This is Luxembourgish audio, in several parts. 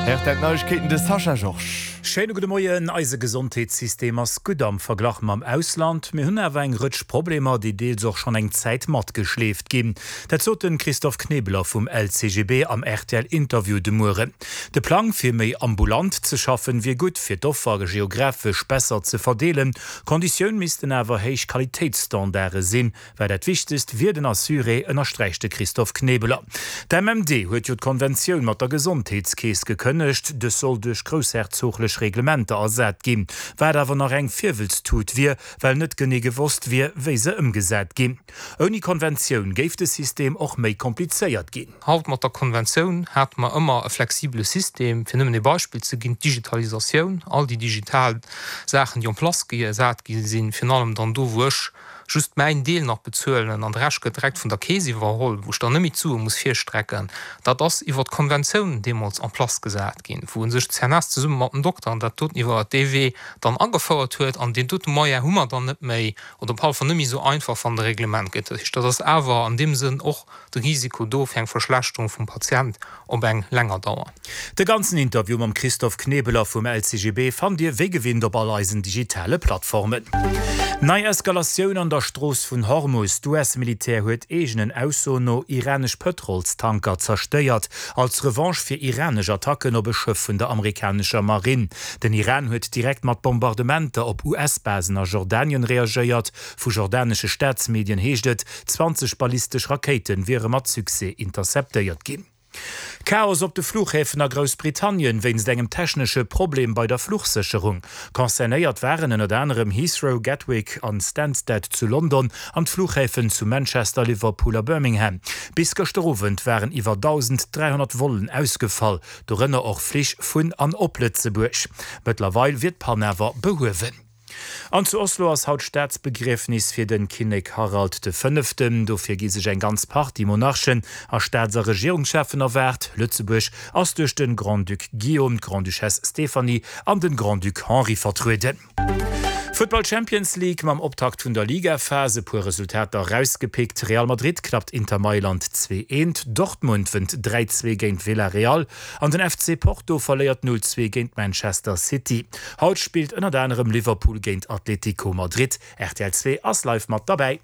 Rtl Neiegkeeten, de Sascha Georges. Schéine gudde Moien. Eise Gesondheetssystem ass gutt am Verglach mam Ausland. Mir hunn awer eng Rëtsch Problemer, déi deels och schonn eng Zäit matgeschleeft ginn. Dat sot de Christophe Knebeler vum LCGB am RTL-Interview de Mueren. De Plang, fir méi ambulant ze schaffen, wier gutt, fir d'Offer geographesch besser ze verdeelen. Konditioun missten awer héich Qualitéitsstandarde sinn. Well dat Wichtegst wier den Assuré, ënnersträicht de Christophe Knebeler. D'MMD huet jo d'Konventioun mat der Gesondheetskeess gekënnegt. Dës soll duerch groussherzoglech Reglementer ersat ginn, wat awer nach eng Virwëlztut wier, well net genee gewosst wier, wéi se ëmgesat ginn. Ouni Konventioun géif de System och méi komplizéiert ginn. Haut mat der Konventioun hate mer ëmmer e flexibele System. Fir nëmmen ee Beispill ze ginn, d'Digitalisatioun, all déi digital Saachen, déi en place gesat gi sinn, virun allem dann do, wou ech just mäin Deel nach bezuelen an de Rescht gëtt direkt vun der Keess iwwerholl, wou ech dann net méi d'Sue muss virstrecken, dat ass iwwer d'Konventioun deemools en place gesat ginn, wou u sech d'CNS zesumme mat dem Dokter an dat doten iwwer dee Wee dann agefouert huet. An deen dote Moyen hu mer dann net méi oder op alle Fall net méi esou einfach, wann de Reglement gëtt. Dat heescht, dat ass awer an deem Sënn och de Risiko do fir eng Verschlechterung vum Patient op eng länger Dauer. De ganzen Interview mam Christophe Knebeler vum LCGB fannt Dir wéi gewinnt op all eisen digitale Plattformen. Nei Eskalatioun an der Strooss vun Hormus, D'US-Militär huet eegenen Aussoen no iranesch Pëtrolstanker zerstéiert, als Revanche fir iranesch Attacken op e Schëff vun der amerikanescher Marinn. Den Iran huet direkt mat Bombardementer op US-Basen a Jordanien reagéiert. Vu jordanesche Staatsmedien heescht et, 20 ballistesch Rakéite wiere mat Succès interceptéiert ginn. Chaos op de Fluchhäfen a Groussbritannien wéinst engem technesche Problem bei der Fluchsécherung. Concernéiert waren ënnert anerem Heathrow, Gatwick an Stansted zu London an d'Fluchhäfen zu Manchester, Liverpool a Birmingham. Bis gëschter Owend waren iwwer 1.300 Vollen ausgefall, dorënner och Flich vun an op Lëtzebuerg. Mëttlerweil wier d'Pann awer behuewen. An zu Oslo ass haut Staatsbegriefnis fir den Kinnek Harald de Fënneften. Dofir gi sech eng ganz Partie Monarchen a Staats a Regierungscheffen erwaart. Lëtzebuerg ass duerch den Grand-Duc Guillaume, d'Grande-Duchesse Stéphanie an den Grand-Duc Henri vertrueden. Futtball Champions League, Mam Optakt vun der Ligaphas e puer Resultater erausgepickt, Real Madrid klappt Inter Mailand 2, 1, Dortmund wënnt 3, 2 géint Villarreal An den FC Porto verléiert 0, 2 géint Manchester City. Haut spillt ënnert anerem Liverpool géint Atlético Madrid. Rtl 2 ass live mat derbäi.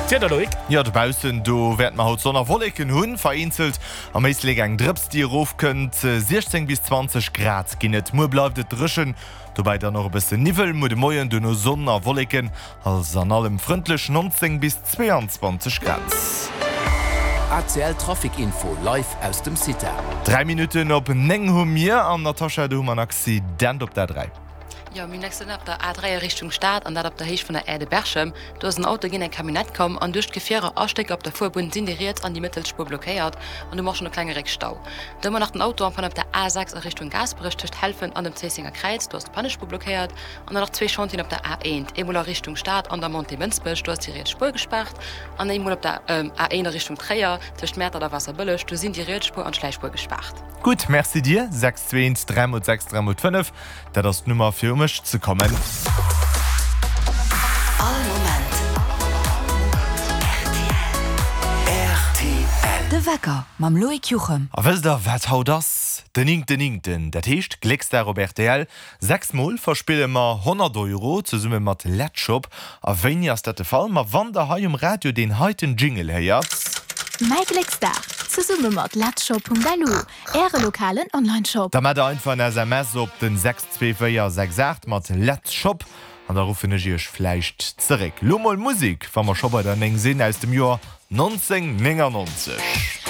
D'Wieder, Loïc? Jo, dobaussen do wäerte mer haut Sonn a Wolleken hunn, vereenzelt am Éislek eng Drëps déi erofkënnt. 16 bis 20 Grad ginn et. Muer bleift et dréchen, dobäi dann och e bëssen Niwwel. Muer de Moien duerno Sonn a Wolleken, Alles an allem frëndlech 19 bis 22 Grad. ACL Trafic Info live aus dem CITA. 3 Minutten op 9 hu mir an Natascha, do hu mer en Accident op der A3. Jo, mir hunn en Accident op der A3 a Richtung Stad an dat op der Héicht vun der Aire de Berchem. Do ass en Auto géint eng Camionnette komm an duerch d'Gefierer a Stécker op der Fuerbunn sinn déi riets an déi mëttelst Spuer blockéiert an do hu mer och schonn e klenge Réckstau. Da hu mer nach den Auto en panne op der A6 a Richtung Gaasperech tëscht Helfent an dem Zéissenger Kräiz, do ass d'Pannespuer blockéiert. An dann nach zwee Chantieren op der A1, eemol a Richtung Stad an der Montée Mënsbech, do ass déi riets Spuer gespaart, an eemol op der A1 a Richtung Tréier, tëscht Mäertert a Waasserbëlleg, do sinn déi riets Spuer an d'Schläichspuer gespaart. Gutt, Merci dir. 6 2 1 3 mol 6 3 mol 5, dat ass d'Nummer fir u mech ze kommen. All Moment rtl. De Wecker mam Loïc Juchem. A wësst der wat haut ass? Den néngten néngten, dat heescht Glécksdag op rtl. 6 mol verspille mer 100 Euro zesumme mat Letzshop. A wéini ass dat de Fall? Ma wann der hei um Radio deen heiten Jingle héiert. Mäi Glécksdag, zesumme mat Letzshop.lu, Äre lokalen Onlineshop. Da maacht der einfach en SMS op den 62468 mat Letzshop an da ruffen ech iech vläicht zeréck. Lo mol Musik, wa mer scho bei der 9 sinn, aus dem Joer 1999.